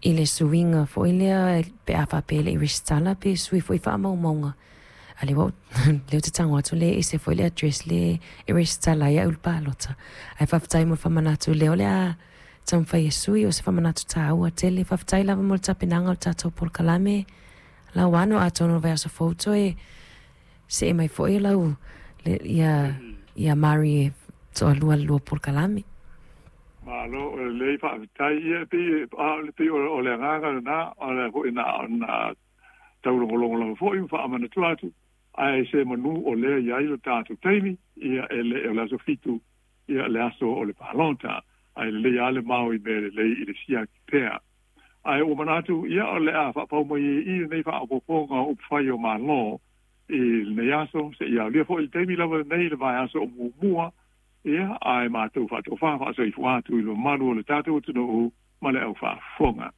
I le suiga foi lea pe a faapea e le i resitala pe sui foi faamaumauga a lea ua lea ou te tago atu le ese foi le address le e resitala ai au i le palota. Ae faafetai mo le faamanatu lea o le a taumafai e sui o se faamanatu taua tele. Faafetai lava mo le tapenaga o le tatou polokalame Lauano, atonu o le vaiaso fou toe see mai foi lau le, ia ia Mari e toalua le lua polokalame. Malo, o lelei, faafetai. Ia, e pei, a, e pei o le agaga lena, o le foi na ona taulogologo lava foi ma faamanatua atu, ae se manu o lea i ai lo tatou taimi, ia e le o le aso 7, ia le aso o le palota, ae lelei lava le mao i mea lelei i le siaki pea. Ae ua manatu, ia o le a faapau mai ai i i lenei faaopoopoga o upufai o Malo i lenei aso, seia aulia foi le taimi lava lenei i le vaiaso o muamua, ia, ae matou faatofa faasoifua atu i le mamalu o le tatou atunuu ma le au faafofoga.